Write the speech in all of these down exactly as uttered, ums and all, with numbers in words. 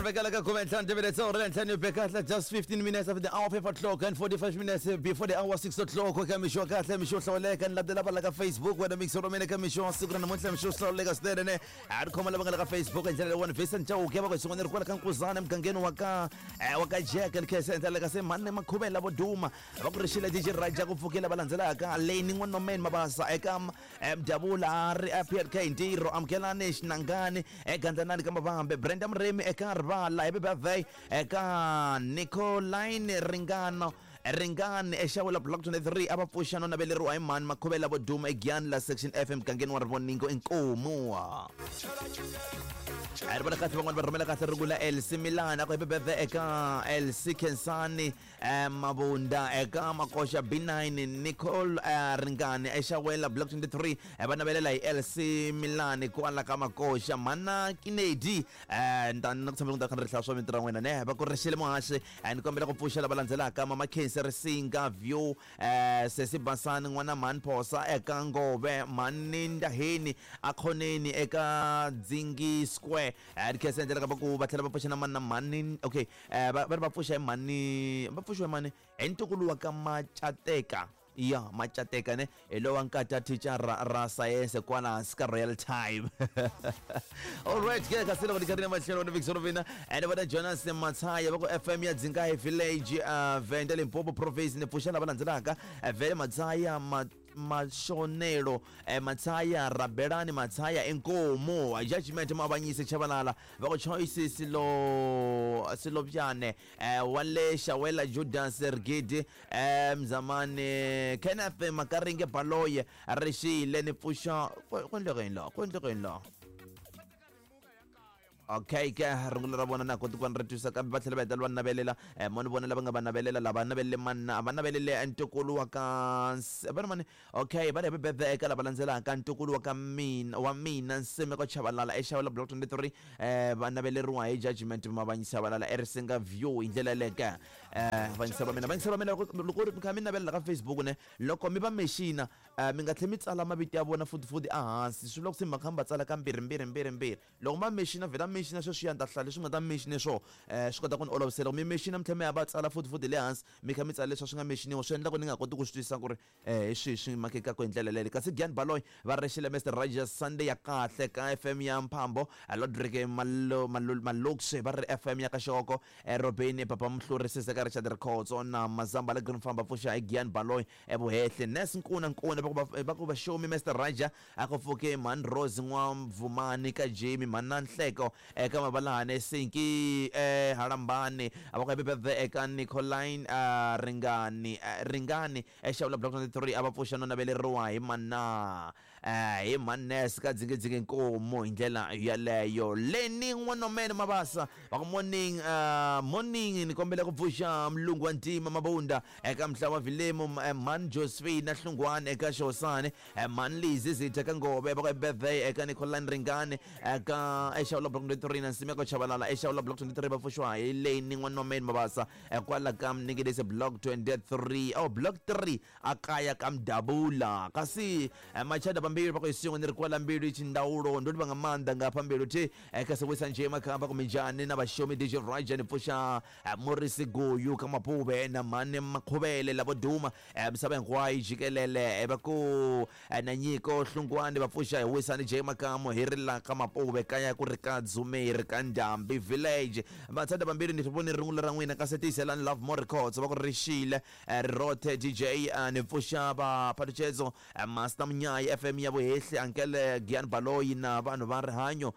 Rebecca ka khume ntlhanu timinetse awara ntlhanu yi be kahle just fifteen minutes after the hour five o'clock and forty-five minutes before the hour six o'clock ka mixo wa kahle, mixo wo hlawuleka. Ni landzela va la ka Facebook wena mixo ra mina ka mixo wa siku ra namuntlha, mixo wo hlawuleka swinene ne a ri khoma lava nga la ka Facebook hi ndlela leyiwani. Vincent Chauke va ku hi swin'wana ri kwala ka Nkuzana emugangeni wa ka eh, wa ka Jack ni khensa endlela ka se mhani Makhuvela vo duma va ku rixile D J Raja ku pfukela va landzelaka Leni N'wanomeni Mabasa eka eh, Mdavula a ri a P L K Ntirho Amukelani Xinangani eGandlanani ka Mavambe Brenda Murimi eka Rivala Happy birthday eka Nicoline Ringano Ringani eXawula Block twenty-three a va pfuxa no naveleriwa hi mhani Makhuvela vo duma eGiyani la Section F emugangeni wa Rivoningo inkomu. A ri vona kahle van'wani va rhumela kahle rungula L C Milan a ku happy birthday eka L C Khensani eh, Mabunda eka Makoxa B nine Nicole eh, Ringani eXawela Block twenty-three eh, va navelela hi L C Milan kwala ka Makoxa Mana Kinedi eh, ni ta ni ku tshembela ku ta kha ni ri hlaya swa mintirho ya n'wina ne va ku rixile muhaxi eh, ni kombela ku pfuxa lava landzelaka Mama Khensi Risinga View eh, Sesi Basani n'wana Mhani Phosa eka Ngove Mhani Ndaheni Akhoneni eka Dzingi Square eh, ni khensa endlela ka va ku va tlhela va pfuxa na mani na mhani okay eh, va va ri va pfuxa hi mhani va pfuxiwa hi mani hi ntukulu wa ka Macateka ya Macateka ne hi lowa nkata teacher ra, ra science kwala hansi ka Royal Time. Alright ke kasi loko ni kha ri na matlhelo ni Victor Vina and vona Jonas Matsaya va ku F M ya Dzingahi Village uh, Venda Limpopo Province ni pfuxa lava landzelaka eh, Vele Matsaya ma Mashonelo eh, Matsaya Rabelani Matsaya Inkomo Judgment Mabanyise Chabalala va ku Choice Silo Silobyane eh, Wale Shawela Judas Rigidi eh, Mzamani Kenneth Makaringe Baloye Rixile ni pfuxa ku endleka yini laha ku endleka yini laha okay ke rungula ra vona na koti ku va ni ri twisa kambe va tlhela va hetelela va navelela eh, mo ni vona lava nga va navelela lava navelele manna va navelele ntukulu wa ka va ri mani okay va ri happy birthday eka lava landzelaka ntukulu wa ka mina wa mina Nsimeko Chabalala eXawula Block twenty-three eh, va naveleriwa hi Judgment Mavanyisa Chabalala eRisinga View hi ndlela yaleyo ke eh, vanyisa va mina vanyisa va mina loko loko ri kha mi navelela ka Facebook ne loko mi va mexina eh, mi nga tlheli mi tsala mavito ya vona futhi futhi ehansi swi vula ku se mi kha mi va tsala ka mbirhi mbirhi mbirhi mbirhi loko ma mexina vhela mexina sweswiya ni ta hlaya leswi nga ta mexine swo eh, swi kota ku ni olovisela mi mexina mi tlhela mi ya va tsala futhi futhi le hansi mi kha mi tsala leswi swi nga mexiniwa swi endla ku ni nga koti ku swi twisisa ku ri eh, hi swihi swi makekaka hi ndlela leyo kasi Gian Baloy va rixile Mister Rogers Sunday ya kahle ka F M ya Mphambo Lodrick Malo Malo Maloxe va ri F M ya ka Xoko eh, Robin Papa Mhluri Siseka Richard Rikhotso na Mazamba la Green Farm va pfuxa hi Gian Baloy evuhehle Nes Nkuna Nkuna va ku va va ku va shomi Mister Raja a ku pfuke Mhani Rose N'wamvumani ka Jamie Mhana Nhleko eka Mabalane Sinki eh, Halambani a va ku happy birthday eka Nicoline uh, Ringani uh, Ringani eXawula Block twenty-three a va pfuxa no naveleriwa hi mana eh, hi Manes ka Dzingidzingi Nkomo hi ndlela yaleyo Leni N'wanomene Mabasa va ku morning uh, morning ni kombela ku pfuxa Mlungu wa Ntima Mabunda eka Mhlawa Vilemu Mhani Josephine Hlungwane eka Xosani Mhani Lizi Zitha ka Ngove va ku happy birthday eka Nicoline Ringani eka eXawula Block twenty-three na Nsimeko Chabalala eXawula Block twenty-three va pfuxiwa hi Leni N'wanomeni Mabasa kwala ka Mnikidese Block twenty-three oh Block three akaya ka Mdabula kasi Machada pambili va ku hi swin'we ni ri kwala mbilu xindawulo ndo tiva nga maanḓa nga hafha mbilu thi kasi wisa nje makhamba kuminjhani na vaxomi D J Raja ni pfuxa Morisi Guyu ka Mapuve na Mhani Makhuvele lavo duma misava hinkwayo jikelele va ku na Nyiko Hlungwani va pfuxa hi wisani J Makamu hi ri la ka Mapuve kaya ku ri ka Dzumeri ka Ndhambi Village Vatsada vambirhi ni voni rungula ra n'wina kasi tiyiselani Love More Records va ku rixile Rothe D J ni pfuxa va Phalutshedzo Master Munyayi F M ya Vuhehli Ankele Gian Baloyi na vanhu va rihanyo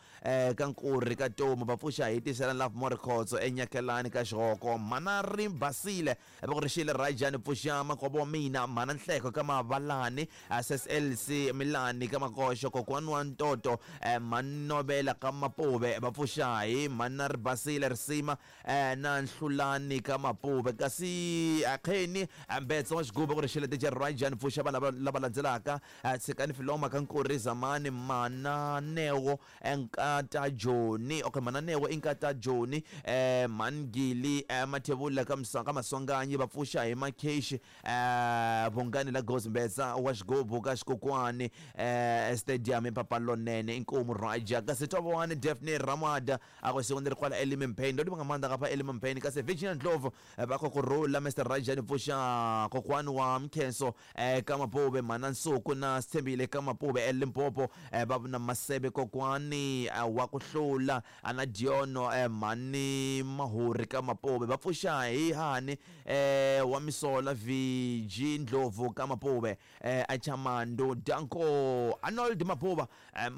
ka Nkurhi ka Tomu va pfuxa hi tiyiselani Love More Records enyakelani ka Xihoko Mhana ri basile va ku rixile Raja ni pfuxa makovo wa mina Mhana Nhleko ka Mavalani S S L C Milani ka Makoxo kokwani wa Ntoto Mhanovela ka Mapuve va pfuxa hi Mhana ri basile Risima na Nhlulani ka Mapuve kasi Akheni Mbetso wa Xigubu ku rixile D J Raja ni pfuxa vanhu lava landzelaka Tshikani Filombo Filoma ka Nkuri Zamani Mananeo Nkata Joni okay Mananeo Nkata Joni eh Mangili eh, Mathebula ka Msanga Maswanganyi va pfuxa hi Makheshi eh Bongani la Gozimbeza wa xigubu ka Xikokwani eh stadium ePapalonene inkomu Raja kasi Tobowani Daphne Ramada a go siku ndzi ri kwala Elimempane ndo nga maanḓa ngafha Elimempane kasi Virginia Ndlovu va khou kurula Mister Raja ni pfuxa kokwani wa Mkhenso eh ka Mapuve mana Nsuku na Sithembile ka Mapuve eLimpopo eh va na Masebe kokwani wa ku hlula ana Diono eh mani Mahuri ka Mapuve va pfuxa hi hani eh wa Misola V G Ndlovu ka Mapuve eh Achamando Danko Arnold Mapuva eh,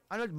Arnold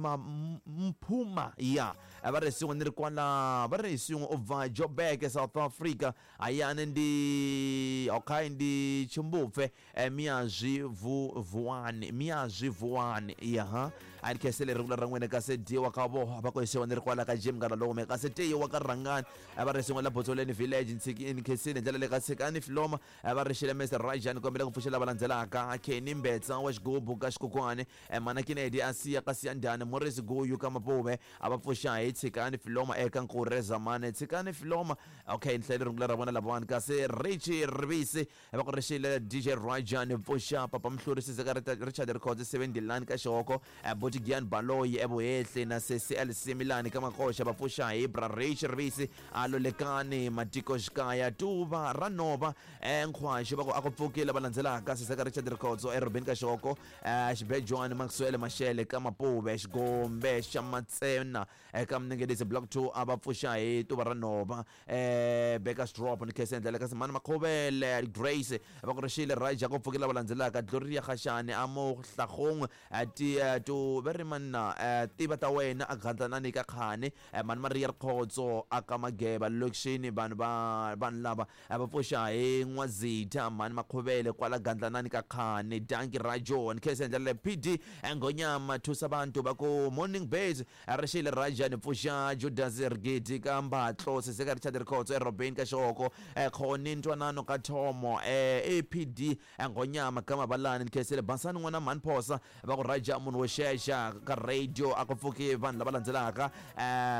Mphuma ya va ri siku ni ri kwala va ri siku u bva Joburg South Africa ayani ndi okay ndi Chimbupfe Miyazwi Vuwani Miyazwi Vuwani ya ha a ni khensele ri ra n'wina kasi dyiwa ka vo va ko siku ni ri kwala ka Jim Ngalome kasi tiwa ka Rangani va ri siku la Botsoleni village ni khensile ndlela le ka Tshikani Filoma va ri xile Mister Rajan kombela ku pfuxela va landzelaka Kenny Mbetsa wa xigubu ka Xikokwani mana Kennedy Asiya ka Siyandani Morris Guyu ka Mapuve a va pfuxa hi Tshikani Filoma eka Nkure Zamani Tshikani Filoma okay ni hlayile rungula ra vona lavawani kasi Richie Rivisi va ku rixile D J Rajan pfuxa Papa Mhluri Sizeka Richard Records seventy-nine ka Xihoko Botigian Baloyi eVuhehli na C C L C Milani ka Makoxa va pfuxa hi Bra Richie Rivisi Alolekani Matiko Xikaya Tuva Ranova Nkhwaxi va ku a ku pfukile va landzelaka Sizeka Richard Records eRobin ka Xihoko Xibejwani Maxwell Mashele ka Mapuve Xigombe xa Matsena eka Mnengelisi Block two a va pfuxa hi Tuva Ranova eh Baker's Drop ni khese ndlela kasi Mani Makhuvele Grace va ku rixile Raja ku pfukela va landzelaka Gloria Khashani amo Hlagong ti to va ri manna tiva ta wena a gandlanani ka khani Mani Maria Khotso aka Mageba lokishini vanhu va vanhu lava va pfuxa hi N'wazitha Mani Makhuvele kwala gandlanani ka khani Danki Rajo ni khese ndlela P D Ngonyama thusa bantu va ku morning base rixile Raja ni pfuxa Judas Rigidi ka Mbatlo Sizeka Richard Khotso eRobin ka Xihoko Khoni Ntwanano ka Thomo A P D Ngonyama ka Mabalani ni khensile Basani n'wana Mani Phosa va ku Raja munhu wo xexa ka radio a ku pfuki vanhu lava landzelaka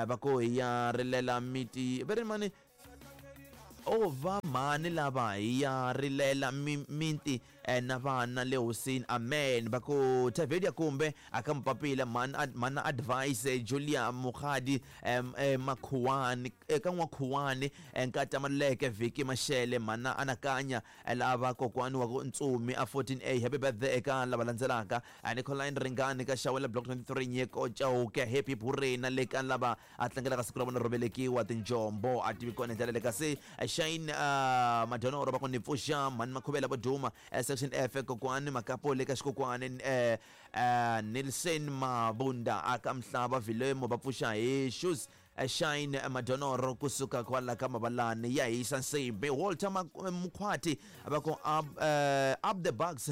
va ku hi ya rilela miti va ri mani o va mani lava hi ya rilela miti na vana le hosini amen va ku Tavedia kumbe aka Mpapila man mana advice Julia Mukhadi Makhuwani eka N'wakhuwani Nkata Maluleke Viki Mashele mana anakanya lava kokwani wa ku Ntsumi a fourteen A happy birthday eka lava landzelaka Nicoline Ringani ka Xawela Block twenty-three Nyeko Chauke happy Purena le ka lava a tlangelaka siku ra vona ro velekiwa tinjombo a tivi kona ndlela le kasi Shane Madonoro va ku ni pfuxa Mani Makhuvela vo duma Section F kokwani Makapo le ka Xikokwani eh Nelson Mabunda aka Mhlaba Vilemo va pfuxa hi shoes Shine Madonoro kusuka kwala ka Mabalani ya hisa nsimbi Walter Mkhwati va ku up, uh, up the bucks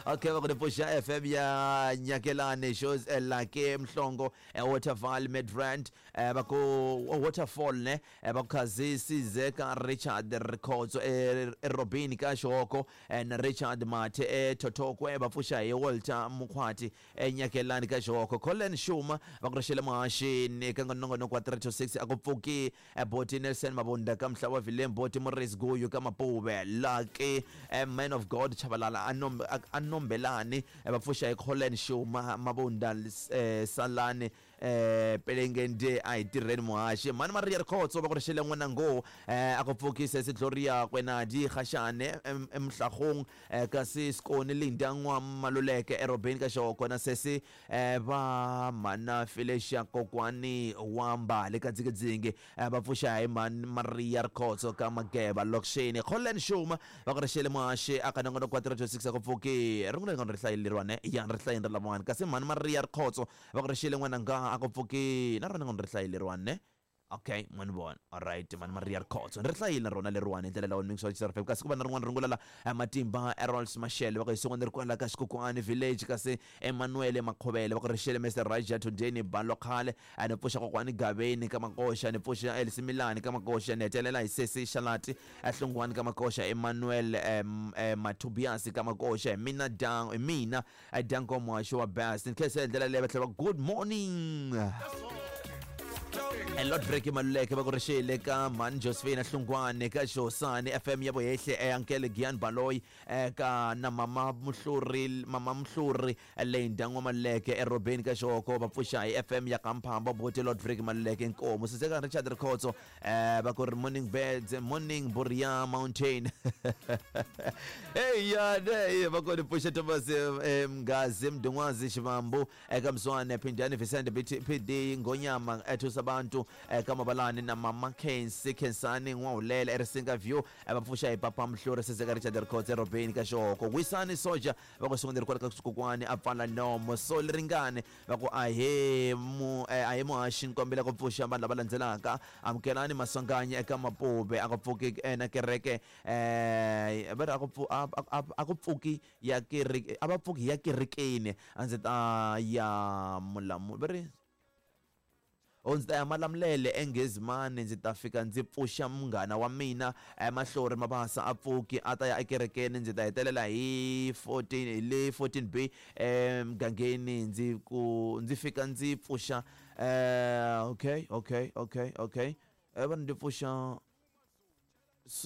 okay va ku ni pfuxa F M ya Nyakelani shows Lake Mhlongo Waterfall Midrand va ku Waterfall ne va ku khazi Sizeka Richard Records eRobin ka Xihoko na Richard Mathe eThotokwe va pfuxa hi Walter Mkhwati eNyakelani ka Xihoko Colin Shuma va ku rixele muhaxini eka nongonoko wa three to six a ku pfuki Boti Nelson Mabunda ka Mhlava Vilem Boti Morris Guyu ka Mapuve Lucky Man of God Chabalala Anombelani va pfuxa hi Colin Shuma Mabunda Salani eh Pelengende a hi tirheni muhaxi Mani Maria Rikhotso va ku rixele n'wana ngo a ku pfuki Sesi Gloria Kwenadi Khashane eMhlagong kasi Sikoni Linda N'wa Maluleke eRobin ka Xihoko na Sesi va mana Felicia kokwani wa Mbali ka Dzingidzingi va pfuxa hi Mani Maria Rikhotso ka Mageba lokishini Colin Shuma va ku rixele muhaxi aka nongonoko wa three to six a ku pfuki rungula ri hlayeleriwa ya ri hlayeni ra lavawani kasi Mani Maria Rikhotso va ku rixele n'wana nga a ku pfuki na rona nga ri hlayeleriwa ne Okay, mani vona. Alright, mani Maria Rikhotso. Ri hlayile na rona leriwani hi ndlela lawa ni mixo F M. Kasi ku va na rin'wana rungula la Matimba Errols Mashele va ku hi sungula ri kwala ka Xikokwani Village, kasi Emmanuel Makhovele va ku rixele Mister Raja Today ni balo khale a ni pfuxa kokwani Gaveni ka Makoxa, ni pfuxa Elsie Milani ka Makoxa, ni hetelela hi Sesi Shalati Hlongwane ka Makoxa, Emmanuel Matubias ka Makoxa, mina dang mina Danko Mwasho wa Bass. Ni khensa ndlela leyi va tlhela good morning. Lord Break Maluleke va ku rixile ka Mani Josephine Hlongwane ka Josani F M ya Bohehle Ankele Gian Baloyi ka na Mama Muhluri Mama Muhluri Lenda N'wa Maluleke eRobeni ka Xoko va pfuxa hi F M ya Kamphamba Bote Lord Break Maluleke Nkomo Siseka Richard Rikhotso va ku ri morning birds morning Boria Mountain. Hey ya hey va ku ri pfuxa Thomas Mgazi Mdungwazi Xivambu eka Mswane Phindani Vicente P D Ngonyama ethusa abantu eka Mabalani na Mama Kensi Kensani N'wahulela eRisinga View va pfuxa hi Papa Mhluri Siseka Richard Rikhotso eRobeni ka Xoko Wisani Soja va ku sungula ri kwala ka Xikokwani a pfala nomo so ringane va ku ahe mu ahe muhaxi nkombela ku pfuxa vanhu lava landzelaka amukelani Maswanganyi eka Mapuve a ku pfuki na kereke eh va ri a ku a ku pfuki ya kereke a va pfuki ya kerekeni a ndzi ta ya mulamu va ri o ndzi ta ya Malamulele eNgezimani ndzi ta fika ndzi pfuxa munghana wa mina Mahlori Mabasa a pfuki a ta ya ekerekeni ndzi ta hetelela hi fourteen hi le fourteen B emugangeni ndzi ku ndzi fika ndzi pfuxa eh okay okay okay okay eh va ndzi pfuxa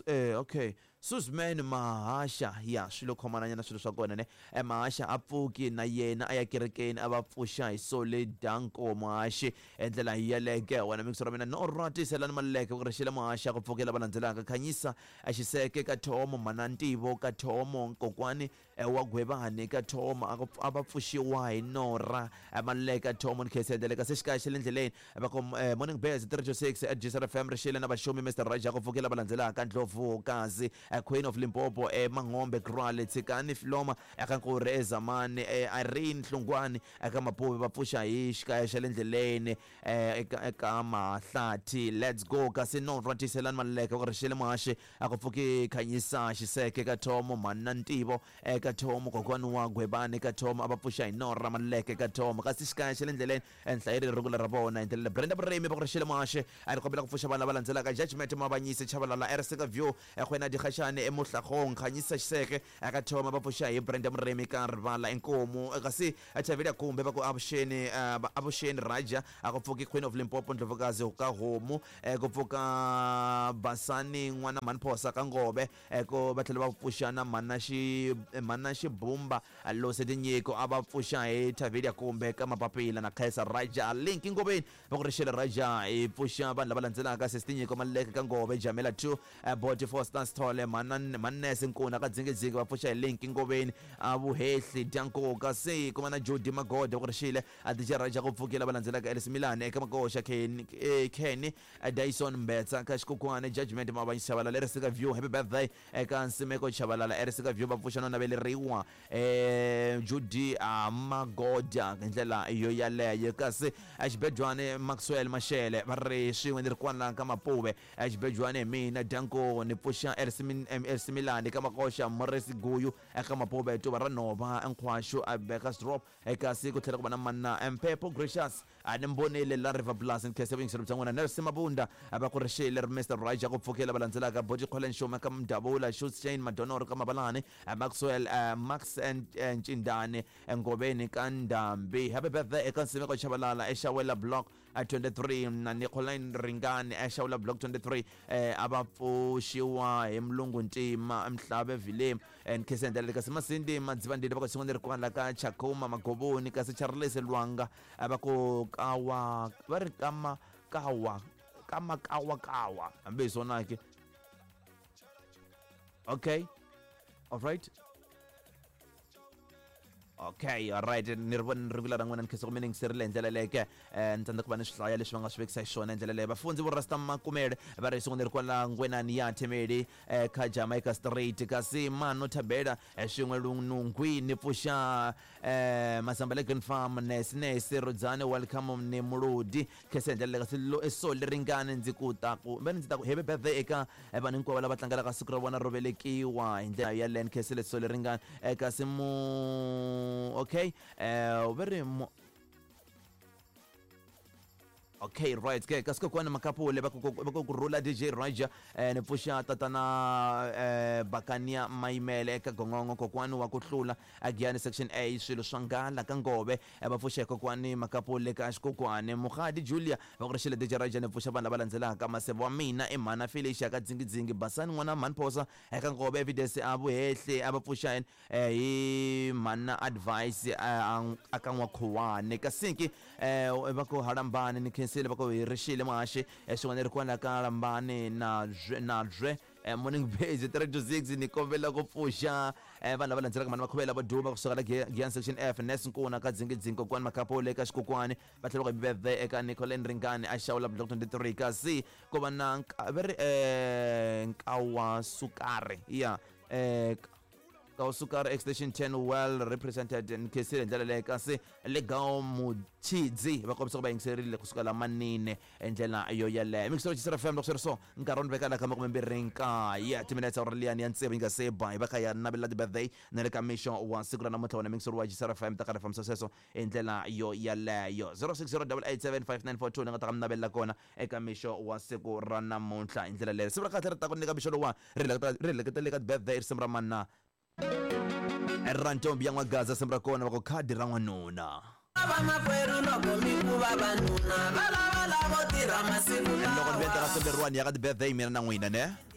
eh okay Susman Mahasha ya swilo khomananyana swilo swa kona ne Mahasha a pfuki na yena a ya kerekeni a va pfuxa hi Sole Danko Muhaxi endlela hi yeleke wena mixo ra mina no ratiselani Maluleke ku rixile Muhaxi ku pfukela va landzelaka Khanyisa a Xiseke ka Thomo Manantivo ka Thomo Nkokwani wa Gwebani ka Thomo a va pfuxiwa hi Nora Maluleke ka Thomo ni khensa ka se xikaya xa le ndleleni va ku morning bears three two six at G S R F M rixile na vaxumi Mister Raja ku pfukela va landzelaka Ndlovu Kazi Queen of Limpopo e Mangombe Krwale Tsikani Filoma eka Nkuri eZamani Irene Hlongwane eka Mapuve va pfuxa hi xikaya xa le ndleleni eka eka Mahlathi let's go kasi no ratiselani Maluleke ku rixile Muhaxi a ku pfuki Khanyisa Xiseke ka Thomo Manantivo eka Thomo Kokwani wa Gwebani ka Thomo a va pfuxa hi Nora Maluleke ka Thomo kasi xikaya xa le ndleleni enhlayeri rungula ra vona hi ndlela Brenda Buremi va ku rixile Muhaxi a ri kombela ku pfuxa vanhu lava landzelaka Judgment Mabanyisi Chabalala Erseka View Ekhwena Dikgashane eMohlagong Khanyisa Xiseke eka Thoma va pfuxa hi Brenda Muremi ka Rivala Inkomu kasi Chavela Kumbe va ku avuxeni avuxeni Raja a ku pfuki Queen of Limpopo Ndlovukazi ka Homu ku pfuka Basani n'wana Manphosa ka Ngove ku va tlhela va pfuxa na Mana Xi Mana Xibumba Lose Tinyiko a va pfuxa hi Chavela Kumbe ka Mapapila na Khaisa Raja Link Ngoveni va ku rixele Raja hi pfuxa vanhu lava landzelaka Sesi Tinyiko Maluleke ka Ngove Jamela two Body Foster Sithole Manese Nkuna ka Dzingidzingi va pfuxa hi Link Ngoveni a Vuhehli Dyankoka kasi ku va na Jody Magode ku rixile a D J Raja ku pfukela va landzelaka Elsie Milani eka Makoxa Kenny Kenny Dyson Mbetsa ka Xikokwani Judgment Mabanyisi Chabalala Erisika View happy birthday eka Nsimeko Chabalala Erisika View va pfuxa no naveleriwa eh Judy Magoda hi ndlela yo yaleyo kasi Xibejwani Maxwell Mashele va ri swin'we ni ri kwala ka Mapuve Xibejwani hi mina Danko ni pfuxa Elsie Milani ka Makoxa Morris Guyu eka Mapuve Tuva ra Nhova Nkhwaxu a Bakers Drop kasi ku tlhela ku va na Manna Mpepo Gracious a ni mbonile la River Plus ni khensa vuyingiseri bya n'wina Nelson Mabunda a va ku rixile ri Mister Raja ku pfukela va landzelaka Boti Kholen Xuma ka Mdavula Shane Madonoro ka Mabalani Maxwell Max Ncindani Ngoveni ka Ndambi happy birthday eka Nsimeko Chabalala eXawela Block twenty-three na Nicolai Ringani eXawela Block twenty-three a va pfuxiwa hi Mlungu Ntima Mhlave Vilem and Khensa kasi Masindi Madzivandile va ku xin'wana ri kwala ka Chakuma Magovoni kasi Charles Lwanga va ku kawa va ri kama kawa kama kawa kawa hambi hi swona ke okay all right Okay, alright, ni ri vona rungula ra n'wina ni khensa ku mi ni yingiserile hi ndlela leyo ke ni tsandzeka ku va ni swi hlaya leswi va nga swi vekisa xiswona hi ndlela leyo. Vafundzi vo Rasta Makumele va ri siku ni ri kwala Ngwenani ya Themeli kha Jamaica Street, kasi Mano Thabela swin'we Lunungwi ni pfuxa Masamba le Green Farm, Nesi Nesi Rudzani welcome ni Muludi khensa hi ndlela leyo. Kasi lo so leri ngani ndzi ku ta ku va ndzi ta ku happy birthday eka vanhu hinkwavo lava tlangelaka siku ra vona ro velekiwa hi ndlela yaleyo. Ni khensile so leri ngani kasi mu okay eh va ri mu okay right ke kasi kokwani Makapule va ku va ku rhula D J Roger eh ni pfuxa tatana eh Bakania Mayimele eka Gongongo, kokwani wa ku hlula Agiyani section A swilo swa ngala ka Ngove va pfuxa kokwani Makapule ka xikokwani Mugadi Julia va ku rixile D J Roger ni pfuxa vanhu lava landzelaka maseve wa mina i mhana Felicia ka Dzingidzingi Basani n'wana mhani Phosa eka Ngove Evidence a Vuhehle a va pfuxa hi mhana Advice a ka N'wakhuwani Kasinki eh va ku halambani ni khensile va ku hi rixile muhaxi swin'wana ri kwala ka Lambani na na bye morning base three to six ni kombela ku pfuxa vanhu lava landzelaka mhani Makhuvela va duma kusuka la Giyani section F Nes Nkuna ka Dzingidzingi kokwani Makapole eka xikokwani va tlhela va ku birthday eka Nicolene Ringani a xawula block twenty-three kasi ku va na va ri Nkawa Sukari ya eh Sukari extension ten well represented ni khensile hi ndlela leyo. Kasi Legao Mutshidzi va kombisa ku va yingiserile kusuka la Manine hi ndlela yo yeleyo. Mixer G F M loko swi ri so nkarhi wo ni veka la ka makumembirhi nkaye timinetse awara liyani ya tsevu yi nga se ba hi va kha ya navelela ti-birthday na le ka mixo wa siku ra namuntlha wona mixer wa G F M ta karhi fambisa sweswo hi ndlela yo yeleyo. Zero six zero double eight seven five nine four two ni nga ta ka mi navelela kona eka mixo wa siku ra namuntlha hi ndlela leyo. Siku ra kahle ri ta ku nyika mixo lowa ri ri hleketele ka ti-birthday risimu ra mana ra ntombi ya N'wagaza simu ra kona va ku khadi ra n'wanuna. Vamakwerhu loko mi ku vavanuna va lava lavo tirha masiku loko ni venta ka simu leriwani ya ka ti-birthday mina na n'wina ne.